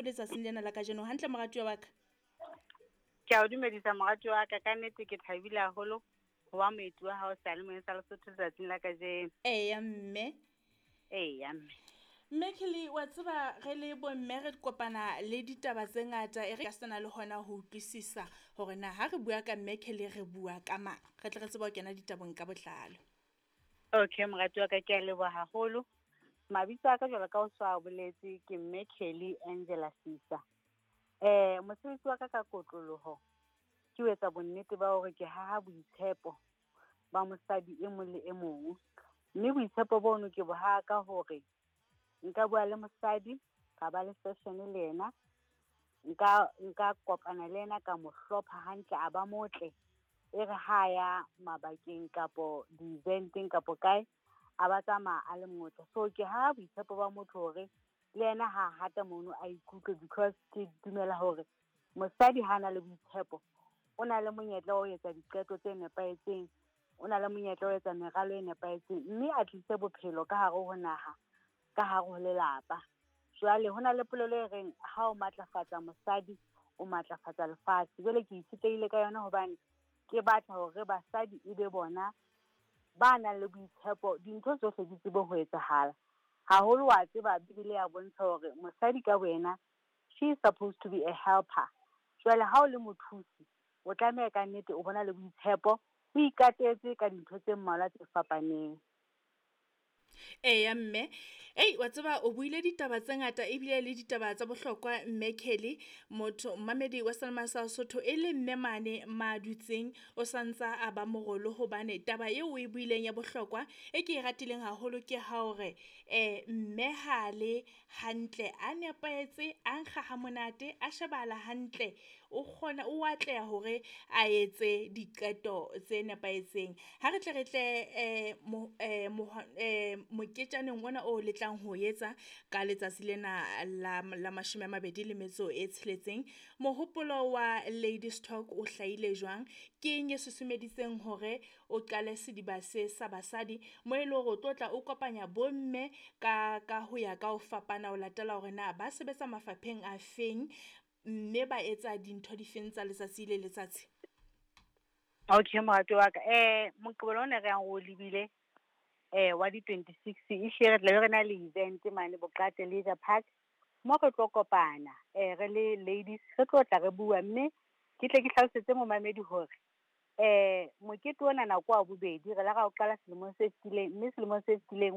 Letsatsing lena la kajeno hantle, moratuwa wa ka. Ke a o dumedisa, moratuwa wa ka. Ka nnete ke thabile haholo ho ba moeti wa hao seyalemoyeng sa Lesotho letsatsing la kajeno. Eya, mme. Eya, mme. Mme Kelly, wa tseba re le bomme re kopana le ditaba tse ngata, e re ka sena le hona ho utlwisisa hore na ha re bua ka mme Kelly re bua ka mang, re tle re tsebe ho kena ditabeng ka botlalo. Okay, moratuwa wa ka, ke a leboha haholo. Mabitso a ka, jwalo ka o so a boletse, ke mme Kelly Angela Sisa. Mosebetsi wa ka ka kotloloho ke ho etsa bonnete ba hore ke haha boitshepo ba mosadi e mong le e mong, mme boitshepo bono ke bo haha ka hore nka bua le mosadi, ka ba le session le yena, nka kopana le yena, ka mo hlopha hantle, a ba motle, e re ha ya mabakeng kapo di-event-eng kapo kae, a ba tsamaya a le motle. So ke ha boitshepo ba motho hore le yena ha hata mono a ikutlwe, because ke dumela hore mosadi ha na le boitshepo, o na le monyetla wa ho etsa diqeto tse nepahetseng, o na le monyetla wa ho etsa meralo e nepahetseng, mme a tlise bophelo ka hare ho naha, ka hare ho lelapa. Jwale ho na le polelo e reng ha o matlafatsa mosadi, o matlafatsa lefatshe. Jwale ke itshetlehile ka yona hobane ke batla hore basadi e be bona ba nang le boitshepo, dintho tsohle di tsebe ho etsahala. Haholo wa tseba Bibele ya bontsha hore mosadi ka wena, she is supposed to be a helper. Jwale ha o le mothusi, o tlameha ka nnete o bona le boitshepo, o ikatetse ka dintho tse mmalwa tse fapaneng. Eya, mme. Ei, wa tseba o buile ditaba tse ngata ebile le ditaba tsa bohlokwa, mme Kelly. Motho mmamedi wa Selma sa Sotho e le mme mane ma dutseng o santsa a ba morolo, hobane taba eo o e buileng ya bohlokwa e ke e ratileng haholo ke ha hore mme ha le hantle, a nepahetse, a nkga ha monate, a shebahala hantle, o kgona o atleha hore a etse diqeto tse nepahetseng. Ha re tle re tle moketjaneng ona o le tlang ho etsa ka letsatsi lena la 26, mohopolo wa Ladies Talk o hlahile jwang? Ke eng e susumeditseng hore o qale sediba se sa basadi mo e leng hore o tlo tla o kopanya bomme ka ho ya ka ho fapana, ho latela hore na ba sebetsa mafapheng a feng, mme ba etsa dintho difeng tsa letsatsi le letsatsi? Okay, moratuwa wa ka, Moqebelo ona re yang o lebile wa di 26, ehlile re tlabe re na le event mane Boqate Leisure Park, mo re tlo kopana re le ladies, re tlo tla re bua, mme ke tle ke hlalosetse momamedi hore mokete ona nako wa bobedi re la ra o qala selemong se fetileng, mme selemong se fetileng.